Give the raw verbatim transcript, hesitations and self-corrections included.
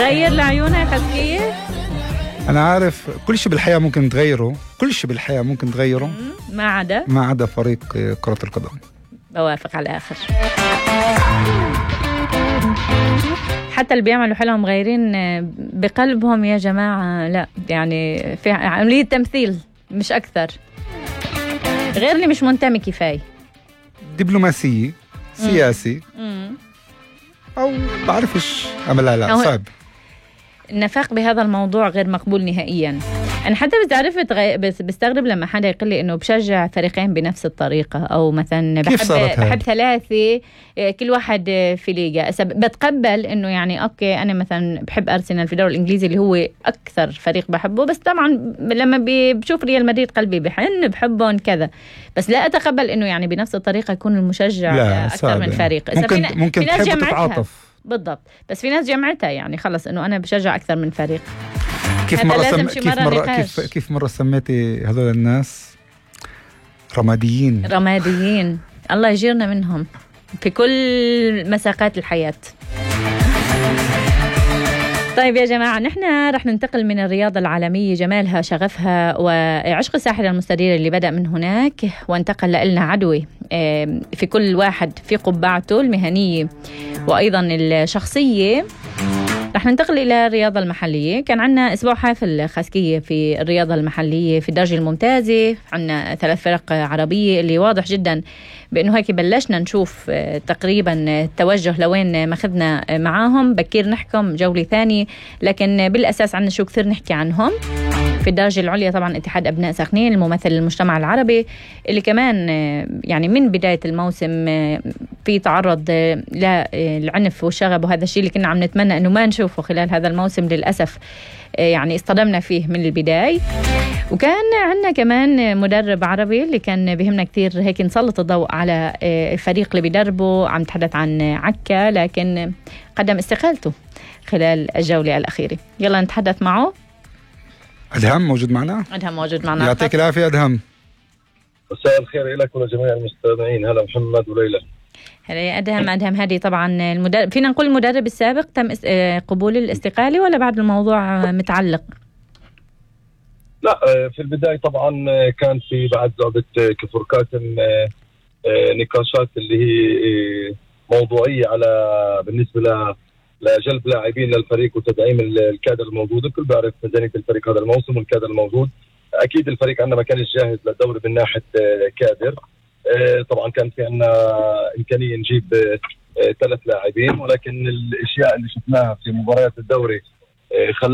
غير لعيونها خسكية. أنا عارف كل شيء بالحياة ممكن تغيره، كل شيء بالحياة ممكن تغيره ما عدا ما عدا فريق كرة القدم. بوافق على الآخر. حتى اللي بيعملوا حالهم غيرين بقلبهم يا جماعة لا، يعني في عملية تمثيل مش أكثر. غير اللي مش منتمي كفاية، دبلوماسية سياسي مم. أو بعرفش عملها لا صعب. النفاق بهذا الموضوع غير مقبول نهائيا. أنا حتى بتعرفت غي... بس بستغرب لما حدا يقول لي إنه بشجع فريقين بنفس الطريقة، أو مثلا بحب بحب ثلاثة كل واحد في ليجا. بتقبل إنه يعني أوكي أنا مثلا بحب أرسنال في الدوري الإنجليزي اللي هو أكثر فريق بحبه، بس طبعا لما بشوف ريال مدريد قلبي بحن بحبهم كذا، بس لا أتقبل إنه يعني بنفس الطريقة يكون المشجع أكثر من فريق. ممكن في... ممكن تحب تتعاطف بالضبط، بس في ناس جمعتها يعني خلص إنه أنا بشجع أكثر من فريق. كيف مرة سم... كيف مرة كيف كيف مرة سميتي هذول الناس رماديين؟ رماديين الله يجيرنا منهم في كل مساقات الحياة. طيب يا جماعة، نحن رح ننتقل من الرياضة العالمية جمالها شغفها وعشق الساحرة المستديرة اللي بدأ من هناك وانتقل لنا عدوي في كل واحد في قبعته المهنية وأيضا الشخصية. رح ننتقل إلى الرياضة المحلية. كان عنا أسبوع حافل خاسكية في الرياضة المحلية في الدرجة الممتازة. عنا ثلاث فرق عربية اللي واضح جدا بأنه هيك بلشنا نشوف تقريبا التوجه لوين ماخذنا معاهم. بكير نحكم جولة ثانية، لكن بالأساس عنا شو كثير نحكي عنهم. في الدرجة العليا طبعا اتحاد أبناء سخنين الممثل للمجتمع العربي اللي كمان يعني من بداية الموسم في تعرض للعنف والشغب، وهذا الشيء اللي كنا عم نتمنى أنه ما نشوفه خلال هذا الموسم. للأسف يعني اصطدمنا فيه من البداية. وكان عندنا كمان مدرب عربي اللي كان بيهمنا كتير هيك نسلط الضوء على الفريق اللي بيدربه. عم نتحدث عن عكا، لكن قدم استقالته خلال الجولة الأخيرة. يلا نتحدث معه. أدهم موجود معنا؟ أدهم موجود معنا. يعطيك العافية أدهم. مساء الخير لك ولجميع المستمعين. هلا محمد وليلى. هلا يا أدهم. أدهم هذه طبعا المدرب، فينا نقول المدرب السابق تم قبول الاستقالة ولا بعد الموضوع متعلق؟ لا في البداية طبعا كان في بعد لعبة كفر كاتم نقاشات اللي هي موضوعية على بالنسبة ل لجلب لاعبين للفريق وتدعيم الكادر الموجود. الكل بيعرف ميزانية الفريق هذا الموسم والكادر الموجود. أكيد الفريق عندنا ما كانش جاهز للدوري من ناحية كادر. طبعا كان في عندنا إمكانية نجيب ثلاث لاعبين، ولكن الأشياء اللي شفناها في مباريات الدوري خلت